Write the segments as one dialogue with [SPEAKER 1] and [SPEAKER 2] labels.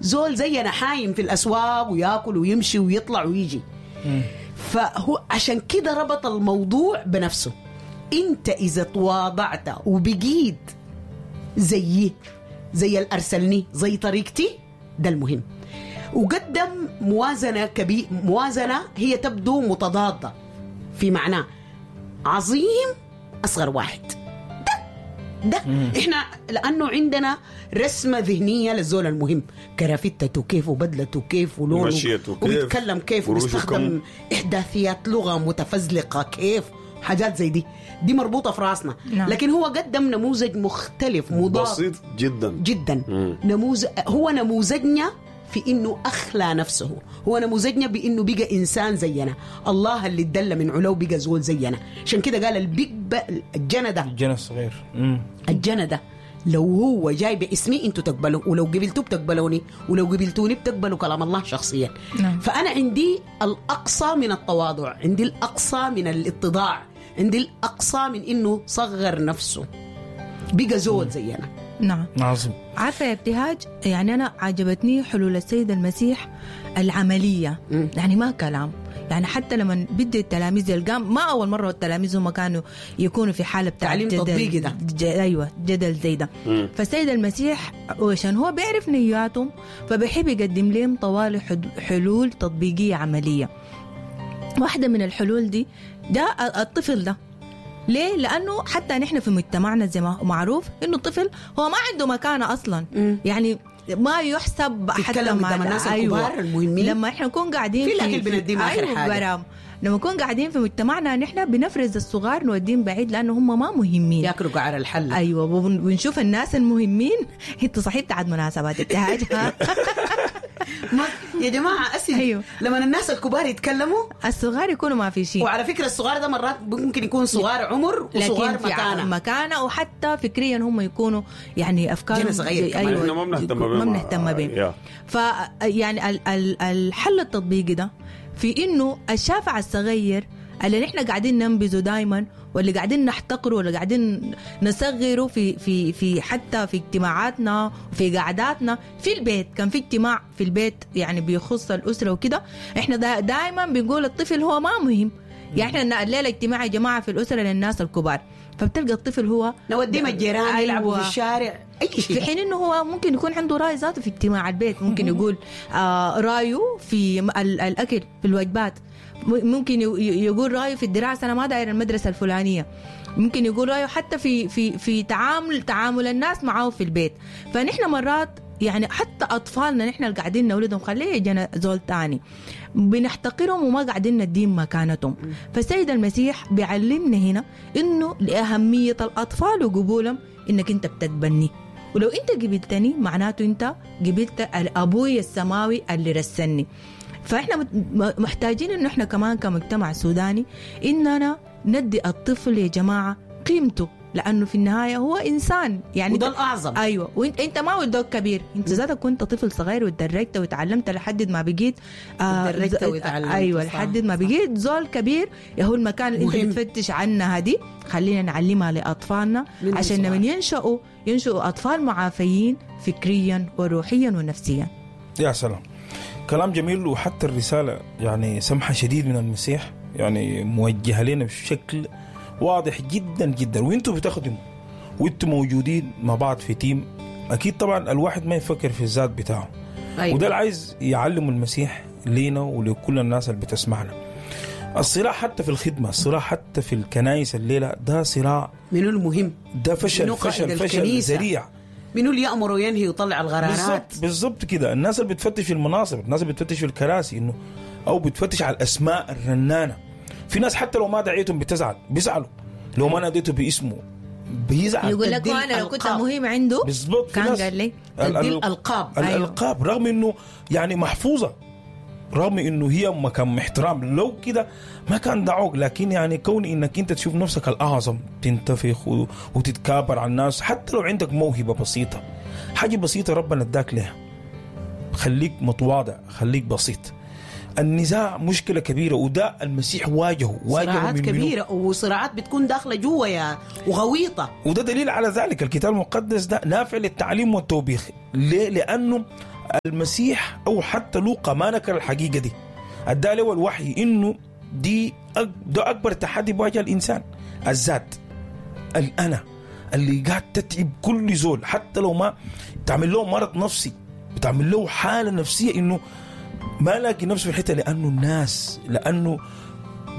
[SPEAKER 1] زول زينا حايم في الاسواق وياكل ويمشي ويطلع ويجي. فهو عشان كده ربط الموضوع بنفسه. انت اذا تواضعت وبقيت زيي، زي الارسلني، زي طريقتي، ده المهم. وقدم موازنه كبير، موازنه هي تبدو متضاده في معناه عظيم اصغر واحد. ده احنا لانه عندنا رسمه ذهنية للزول المهم، كرافتته كيف وبدلته كيف ولونه
[SPEAKER 2] مشيته كيف،
[SPEAKER 1] وبيتكلم كيف،
[SPEAKER 2] قروشه
[SPEAKER 1] وبيستخدم احداثيات لغة متفزلقه كيف، حاجات زي دي مربوطة في راسنا.
[SPEAKER 3] نعم.
[SPEAKER 1] لكن هو قدم نموذج مختلف مضاد
[SPEAKER 2] بسيط جدا
[SPEAKER 1] جدا. نموذج، هو نموذجنا في انه اخلى نفسه، هو نموذجنا بانه بقى انسان زينا، الله اللي اتدلى من علو بقى زول زينا. عشان كده قال البيج الجنى ده،
[SPEAKER 4] الجنى الصغير.
[SPEAKER 1] الجنى ده لو هو جاي باسمي انتوا تقبلوا، ولو قبلتوه بتقبلوني، ولو قبلتوني بتقبلوا كلام الله شخصيا.
[SPEAKER 3] نعم.
[SPEAKER 1] فانا عندي الاقصى من التواضع، عندي الاقصى من الاتضاع، عندي الاقصى من انه صغر نفسه بقى زول زينا.
[SPEAKER 3] نعم.
[SPEAKER 4] عظيم.
[SPEAKER 3] عارفة يا ابتهاج، يعني أنا عجبتني حلول السيد المسيح العملية. يعني ما كلام، يعني حتى لما بدي التلاميذ القام، ما أول مرة التلاميذ هم كانوا يكونوا في حالة بتاع
[SPEAKER 1] تعليم
[SPEAKER 3] جدل،
[SPEAKER 1] تطبيقي ده.
[SPEAKER 3] أيوة، جدل زي ده. فالسيد المسيح عشان هو بيعرف نياتهم فبيحب يقدم لهم طوال حلول تطبيقية عملية. واحدة من الحلول دي ده الطفل ده. ليه؟ لأنه حتى نحن في مجتمعنا زي ما معروف إنه الطفل هو ما عنده مكانة أصلا. يعني ما يحسب حتى
[SPEAKER 1] تتكلم
[SPEAKER 3] مع
[SPEAKER 1] قدام الناس
[SPEAKER 3] أيوة.
[SPEAKER 1] الكبار المهمين.
[SPEAKER 3] لما احنا نكون قاعدين
[SPEAKER 1] في الأكل بنديهم آخر
[SPEAKER 3] أيوة
[SPEAKER 1] حاجة.
[SPEAKER 3] برام. لما نكون قاعدين في مجتمعنا نحن بنفرز الصغار نوديهم بعيد لأنه هم ما مهمين،
[SPEAKER 1] ياكلوا قعر الحلة.
[SPEAKER 3] أيوة، ونشوف الناس المهمين. انت صحيح بتاعت مناسبات ابتهاج.
[SPEAKER 1] ما يا جماعة أسف.
[SPEAKER 3] أيوة.
[SPEAKER 1] لما الناس الكبار يتكلموا
[SPEAKER 3] الصغار يكونوا ما في شيء.
[SPEAKER 1] وعلى فكرة الصغار ده مرات ممكن يكون صغار عمر وصغار
[SPEAKER 3] لكن في
[SPEAKER 1] مكانة،
[SPEAKER 3] مكانة، وحتى فكريا هم يكونوا يعني أفكارهم
[SPEAKER 1] جيل صغير كمان.
[SPEAKER 3] أيوة،
[SPEAKER 2] إحنا ما بنهتم بهم.
[SPEAKER 3] ما بنهتم بهم. فيعني الحل التطبيقي ده في إنه الشافع الصغير اللي نحن قاعدين ننبذه دايما، واللي قاعدين نحتقره، واللي قاعدين نصغره في في في حتى في اجتماعاتنا وفي قعداتنا في البيت. كان في اجتماع في البيت يعني بيخص الأسرة وكده، احنا دايما بنقول الطفل هو ما مهم. يعني احنا الليلة اجتماع يا جماعة في الأسرة للناس الكبار، فبتلقى الطفل هو
[SPEAKER 1] نوديه الجيران.
[SPEAKER 3] أيوة.
[SPEAKER 1] يلعبوا في الشارع، أي شيء.
[SPEAKER 3] في حين انه هو ممكن يكون عنده راي ذاته في اجتماع البيت، ممكن يقول رايه في الاكل، في الوجبات، ممكن يقول رايه في الدراسة، انا ما داير المدرسة الفلانية، ممكن يقول رايه حتى في في في تعامل الناس معه في البيت. فنحن مرات يعني حتى اطفالنا نحن اللي قاعدين نولدهم، خليه يجينا زول تاني، بنحتقرهم وما قاعدين نديهم مكانتهم. فالسيد المسيح بيعلمنا هنا انه لاهمية الاطفال وقبولهم، انك انت بتتبني، ولو انت قبلتني معناته انت قبلت الابوي السماوي اللي رسلني. فاحنا محتاجين انه احنا كمان كمجتمع سوداني اننا ندي الطفل يا جماعة قيمته، لانه في النهاية هو انسان يعني،
[SPEAKER 1] وده الاعظم.
[SPEAKER 3] ايوه، وانت انت ما ولدوك كبير، انت ذاتك كنت طفل صغير وتدرجت وتعلمت لحد ما بقيت
[SPEAKER 1] تدرجت وتعلمت.
[SPEAKER 3] ايوه، لحد ما بقيت زول كبير. يا هو المكان اللي انت بتفتش عنها دي خلينا نعلمها لاطفالنا عشان لما ينشأوا اطفال معافيين فكريا وروحيا ونفسيا.
[SPEAKER 4] يا سلام، كلام جميل. وحتى الرسالة يعني سمحه شديد من المسيح، يعني موجهة لنا بشكل واضح جدا جدا. وانتوا بتخدموا وانتوا موجودين مع بعض في تيم، اكيد طبعا الواحد ما يفكر في الذات بتاعه. أيوة. وده اللي عايز يعلمه المسيح لينا ولكل الناس اللي بتسمعنا. الصراع حتى في الخدمة، الصراع حتى في الكنائس الليلة، ده صراع
[SPEAKER 1] منو المهم،
[SPEAKER 4] ده فشل فشل فشل ذريع،
[SPEAKER 1] منو اللي يأمر وينهي ويطلع القرارات.
[SPEAKER 4] بالضبط كده. الناس اللي بتفتش في المناصب، الناس اللي بتفتش في الكراسي، انه او بتفتش على الاسماء الرنانة. في ناس حتى لو ما دعيتهم بتزعل، بيزعلوا لو ما ناديته باسمه بيزعل،
[SPEAKER 3] يقول لك انا لو كنت مهم عنده
[SPEAKER 4] بالضبط
[SPEAKER 3] كان قال لي
[SPEAKER 1] الالقاب.
[SPEAKER 4] الالقاب. رغم انه يعني محفوظة، رغم انه هي مكان احترام، لو كده ما كان دعوك، لكن يعني كون انك انت تشوف نفسك الاعظم، تنتفخ وتتكابر على الناس، حتى لو عندك موهبة بسيطة، حاجة بسيطة ربنا اداك لها، خليك متواضع، خليك بسيط. النزاع مشكلة كبيرة، وده المسيح واجهه
[SPEAKER 1] صراعات كبيرة، وصراعات بتكون داخلة جوا يا وغويطة،
[SPEAKER 4] وده دليل على ذلك. الكتاب المقدس ده نافع للتعليم والتوبيخ. ليه؟ لأنه المسيح او حتى لوقا ما نكر الحقيقة دي، ادى له الوحي انه دي ده اكبر تحدي بواجه الانسان، الذات، الانا اللي قاعد تتعب كل زول، حتى لو ما تعمل له مرض نفسي، بتعمل له حاله نفسية انه ما لاقي نفسه في الحتة، لانه الناس، لانه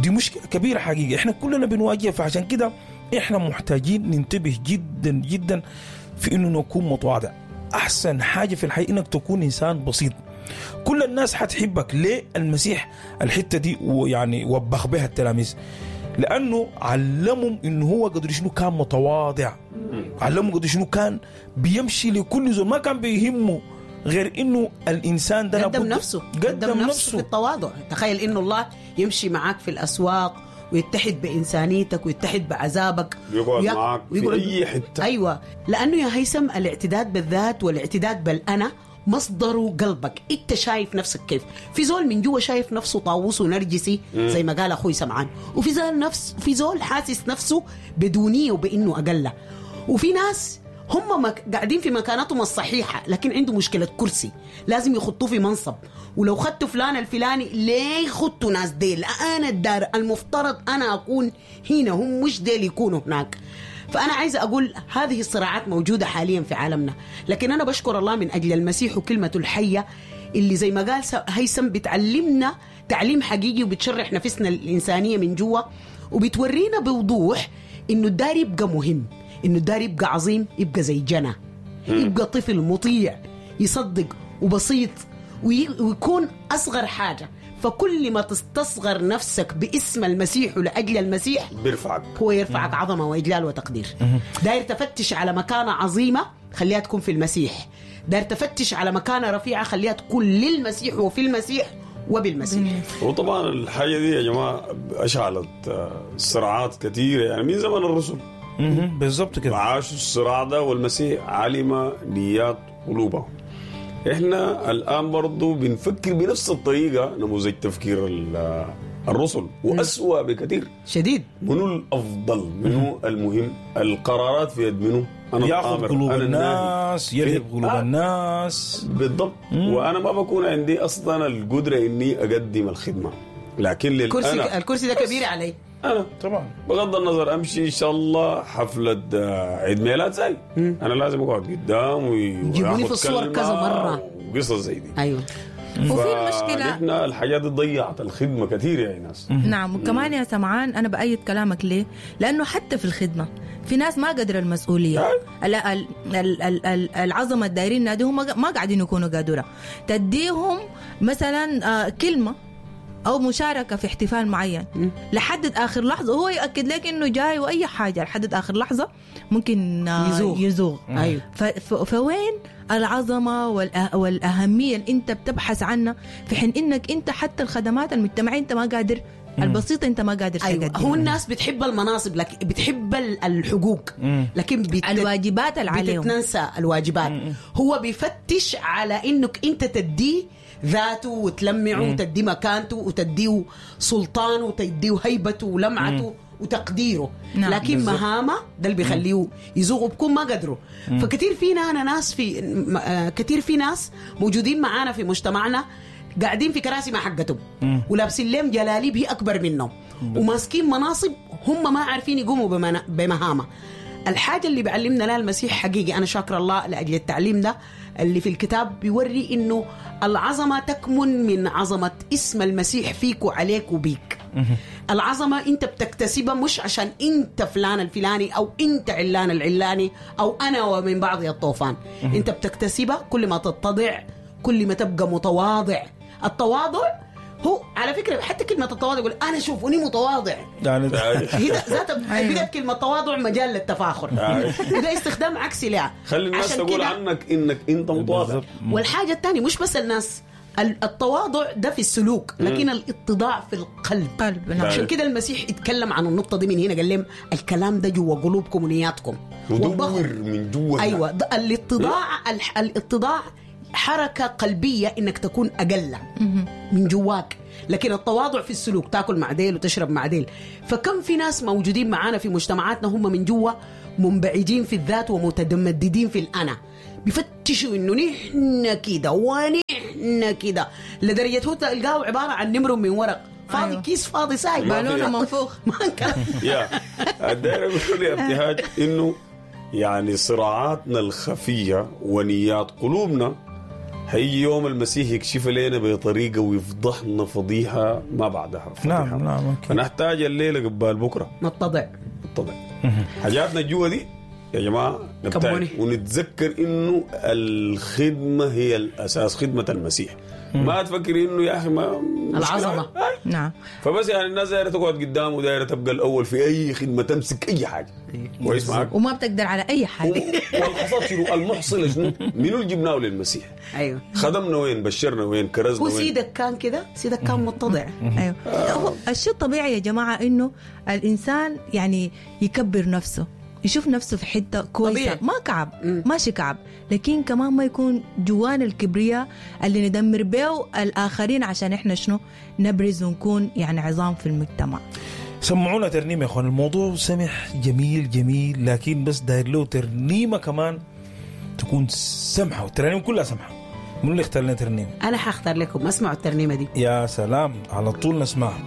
[SPEAKER 4] دي مشكلة كبيرة حقيقة احنا كلنا بنواجهها. فعشان كده احنا محتاجين ننتبه جدا جدا في انه نكون متواضع. احسن حاجة في الحياة انك تكون انسان بسيط، كل الناس حتحبك. ليه المسيح الحتة دي ويعني وبخ بها التلاميذ؟ لانه علمهم انه هو قدر شنو كان متواضع، علمهم قدر شنو كان بيمشي لكل زول، ما كان بيهمه غير انه الانسان ده
[SPEAKER 1] قدم نفسه، قدم نفسه في التواضع. تخيل انه الله يمشي معاك في الاسواق ويتحد بإنسانيتك ويتحد بعذابك،
[SPEAKER 2] يقعد معاك في أي حتة.
[SPEAKER 1] أيوة، لأنه يا هيثم الاعتداد بالذات والاعتداد بالأنا مصدره قلبك. انت شايف نفسك كيف؟ في زول من جوا شايف نفسه طاووس ونرجسي زي ما قال اخوي سمعان، وفي زول نفس في زول حاسس نفسه بدونية وبانه اقل، وفي ناس هم قاعدين في مكانتهم الصحيحة لكن عنده مشكلة كرسي لازم يخطوه في منصب، ولو خدتوا فلان الفلاني ليه خدتوا ناس ديل؟ أنا الدار المفترض أنا أكون هنا، هم مش ديل يكونوا هناك. فأنا عايزة أقول هذه الصراعات موجودة حاليا في عالمنا، لكن أنا بشكر الله من أجل المسيح وكلمته الحية اللي زي ما قال هيثم بتعلمنا تعليم حقيقي وبتشرح نفسنا الإنسانية من جوا، وبتورينا بوضوح إنه الدار يبقى مهم، إنه الدار يبقى عظيم، يبقى زي جنى، يبقى طفل مطيع يصدق وبسيط ويكون أصغر حاجة. فكل ما تستصغر نفسك باسم المسيح ولأجل المسيح
[SPEAKER 2] بيرفعك،
[SPEAKER 1] هو يرفعك عظمة وإجلال وتقدير. داير تفتش على مكانة عظيمة خليها تكون في المسيح، داير تفتش على مكانة رفيعة خليها تكون للمسيح وفي المسيح وبالمسيح.
[SPEAKER 2] وطبعا الحاجة دي يا جماعة أشعلت صراعات كثيرة يعني من زمن الرسل.
[SPEAKER 4] بالضبط كده،
[SPEAKER 2] عاشوا الصراع ده والمسيح علم نيات قلوبهم. احنا الان برضو بنفكر بنفس الطريقة، نموذج تفكير الرسل واسوأ بكثير
[SPEAKER 1] شديد.
[SPEAKER 2] منو الافضل؟ منو المهم؟ القرارات في يد منو؟ انا
[SPEAKER 4] ياخذ قلوب الناس، يرهب قلوب الناس
[SPEAKER 2] بالضبط. وانا ما بكون عندي اصلا القدرة اني اقدم الخدمة، لكن
[SPEAKER 1] للأنا الكرسي ده كبير علي
[SPEAKER 2] انا
[SPEAKER 4] طبعا،
[SPEAKER 2] بغض النظر امشي ان شاء الله حفلة عيد ميلاد زي انا لازم اقعد قدام
[SPEAKER 1] ويجيبوني في الصور كذا مرة
[SPEAKER 2] وقصص زي دي.
[SPEAKER 1] ايوه،
[SPEAKER 3] وفي المشكلة
[SPEAKER 2] نحن الحاجات دي ضيعت الخدمة كثير يا ناس.
[SPEAKER 3] نعم، وكمان يا سمعان انا بايد كلامك. ليه؟ لانه حتى في الخدمة في ناس ما قدر المسؤولية، العظمة الدايرين ناديهم ما قاعدين يكونوا قادرة. تديهم مثلا كلمة أو مشاركة في احتفال معين لحد آخر لحظة، هو يؤكد لك إنه جاي وأي حاجة، لحد آخر لحظة ممكن يزوغ.
[SPEAKER 1] أيوه.
[SPEAKER 3] فوين العظمة والأهمية اللي أنت بتبحث عنها، في حين إنك أنت حتى الخدمات المجتمعية أنت ما قادر، البسيطة أنت ما قادر
[SPEAKER 1] أيوة.
[SPEAKER 3] تقدمها.
[SPEAKER 1] هو الناس بتحب المناصب، لكن بتحب الحقوق، لكن
[SPEAKER 3] الواجبات اللي عليهم
[SPEAKER 1] بتتنسى الواجبات. هو بيفتش على إنك أنت تديه ذاته وتلمعه وتديه مكانته وتديه سلطانه وتديه هيبته ولمعته وتقديره. نعم. لكن بالزبط. مهامه ده اللي بيخليه يزوغ وبكون ما قدره. فكثير فينا أنا ناس في كثير في ناس موجودين معانا في مجتمعنا قاعدين في كراسي ما حقتهم ولابسين لهم جلاليب هي أكبر منهم وماسكين مناصب هم ما عارفين يقوموا بمهامه. الحاجة اللي بعلمنا لها المسيح حقيقي، أنا شاكر الله لأجل التعليم ده اللي في الكتاب بيوري إنه العظمة تكمن من عظمة اسم المسيح فيك وعليك وبيك. العظمة أنت بتكتسبها مش عشان أنت فلان الفلاني أو أنت علان العلاني أو أنا ومن بعض الطوفان. أنت بتكتسبها كل ما تتضع، كل ما تبقى متواضع. التواضع هو على فكرة حتى كلمة التواضع يقول أنا شوفوني متواضع،
[SPEAKER 4] يعني
[SPEAKER 1] هي ذات بدأت كلمة تواضع مجال للتفاخر، وده استخدام عكسي لها.
[SPEAKER 2] خلي الناس تقول عنك إنك أنت متواضع.
[SPEAKER 1] والحاجة الثانية مش بس الناس، التواضع ده في السلوك، لكن الاتضاع في القلب.
[SPEAKER 3] نعم.
[SPEAKER 1] عشان كده المسيح اتكلم عن النقطة دي من هنا، قال لهم الكلام ده جوا قلوبكم ونياتكم
[SPEAKER 2] ودور من جوا.
[SPEAKER 1] أيوة، الاتضاع، الاتضاع حركة قلبية إنك تكون أقل من جواك، لكن التواضع في السلوك، تاكل مع ديل وتشرب مع ديل. فكم في ناس موجودين معانا في مجتمعاتنا هم من جوا منبعجين في الذات ومتمددين في الأنا، بيفتشوا انه نحن كده ونحن كده، لدرجة هو تلقاه عبارة عن نمر من ورق فاضي.
[SPEAKER 3] أيوة.
[SPEAKER 1] كيس فاضي ساي.
[SPEAKER 2] ما
[SPEAKER 3] بالونه
[SPEAKER 2] في-
[SPEAKER 3] منفوخ.
[SPEAKER 1] ما كان.
[SPEAKER 2] يا الداير اقول يا ابتهاج انه يعني صراعاتنا الخفية ونيات قلوبنا هيجي يوم المسيح يكشف لنا بطريقة ويفضحنا فضيحة ما بعدها فضيحة.
[SPEAKER 4] نعم نعم أكيد.
[SPEAKER 2] فنحتاج الليلة قبال بكره
[SPEAKER 1] نتضع.
[SPEAKER 2] بالطبع حاجاتنا جوا دي يا جماعة نبتعد
[SPEAKER 1] كموني.
[SPEAKER 2] ونتذكر انه الخدمة هي الاساس، خدمة المسيح. ما تفكر انه يا اخي ما
[SPEAKER 1] العظمة.
[SPEAKER 3] نعم.
[SPEAKER 2] فبس يعني الناس دايرة تقعد قدام ودايره تبقى الاول في اي خدمة، تمسك اي حاجة. كويس معاك؟
[SPEAKER 3] وما بتقدر على اي حاجة.
[SPEAKER 2] والحصاد شنو؟ المحصلة شنو؟ منو اللي جبناه للمسيح؟
[SPEAKER 1] ايوه.
[SPEAKER 2] خدمنا وين؟ بشرنا وين؟ كرزنا
[SPEAKER 1] هو
[SPEAKER 2] وين؟
[SPEAKER 1] سيدك كان كده، سيدك كان متضع.
[SPEAKER 3] ايوه، هو الشيء الطبيعي يا جماعة انه الانسان يعني يكبر نفسه، يشوف نفسه في حتة كويسة.
[SPEAKER 1] طبيعي.
[SPEAKER 3] ما كعب، ماشي كعب، لكن كمان ما يكون جوانا الكبرياء اللي ندمر بيه الاخرين عشان احنا شنو نبرز ونكون يعني عظام في المجتمع.
[SPEAKER 4] سمعونا ترنيمة يا اخوان، الموضوع سمح جميل جميل، لكن بس داير له ترنيمة كمان تكون سمحه، والترانيم كلها سمحه. من اللي اختار لنا ترنيمة؟
[SPEAKER 1] انا حاختار لكم، اسمعوا الترنيمة دي.
[SPEAKER 4] يا سلام، على طول نسمعها.